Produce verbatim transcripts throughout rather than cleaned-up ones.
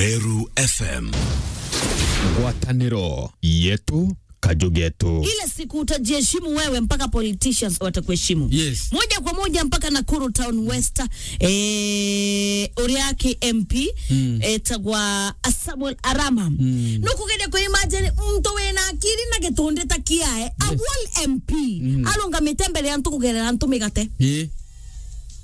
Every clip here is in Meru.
Meru F M. Ngwataniro yetu, kaju getu. Ile siku utajiheshimu wewe, mpaka politicians watakuheshimu. Yes. Moja kwa moja mpaka Nakuru Town West, eh, uria aki M P, Mm. etagwa Samuel Arama. Mm. Nukugeria ku imagine muntu wina akiri na gitundi ta kiae, a Yes. whole M P, Mm. arungamite mbere ya antu kugerera antu migate. Eh.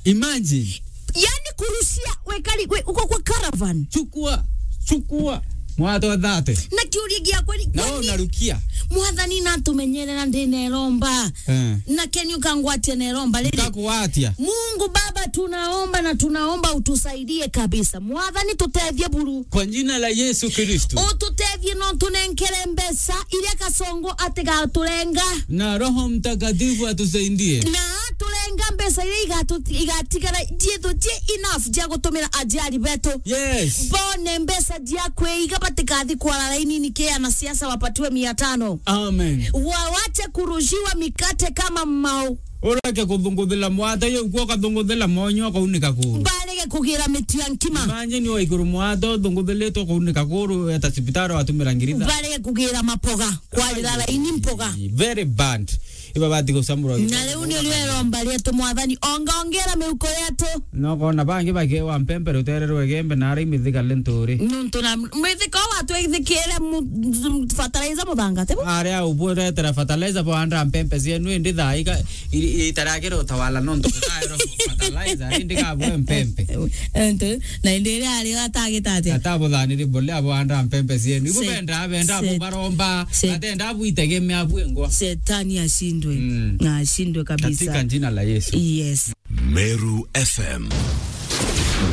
Imagine. Yani kurushia wekari, we, uko kwa caravan. Chukua, chukua. Mwato thate. Na kiuria giakwa ni, Na wewe kwani unarukia. Mwathani natumenyere na ndineromba. Eh. Na keni ukangwatia neromba riri. Nikakuatia. Mungu Baba, tunaomba na tunaomba utusaidie kabisa. Mwathani, tutethie buru. Kwa jina la Yesu Kristo. Ututethie na utunenkere mbeca iria Kasongo atigaturenga. Na Roho Mtakatifu atusaidie. Na aturenga mbeca iria igatu-, igatigara ciithu ci enough cia gutumira aciari betu. Yes. Bone mbeca cia kwiga, batikathi kwara laini niki anasiasa wapatiwe mia tano. Amen. Wawache kurushiwa mikate kama mau. Ureke kuthunguthira mwata yo, ukwo ukathunguthira monyo, ukaunika kuru. Barege kugira mitu ya nkima. Imagine wa iguru mwata uthunguthiritwe, ukaunika kuru, eta cibitari watumira ngiri itha. Barege kugira mapoga, kwarira laini mpoga. Very bad. Iba bati gucamurwa. Na riu ni rieromba rietu, Mwathani, onga ongera miuko yetu. No kona bangi bakewa mpempe rutere rwa Igembe na aria imithika lenturi. Nuntu na mwithika wa twithikire mu-, fertilizer muthanga, tibu? Aria ubwetera fertilizer bwanda mpempe cienu, indi thaa ika, i-, i-, itarakira utawala nontu kukaero fertilizer, indi kabwe mpempe. Ente, na indi iria ari atagita atia? Atabuthaniri bole abwanda mpempe cienu. Ibu Se-, benda, benda se-, bubaromba, se-, atenda buitegemea bwengwa. Setani ashindwe. Mm. Na ashindwe kabisa. Katika jina la Yesu. Yes. Meru F M.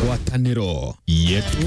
Ngwataniro yetu.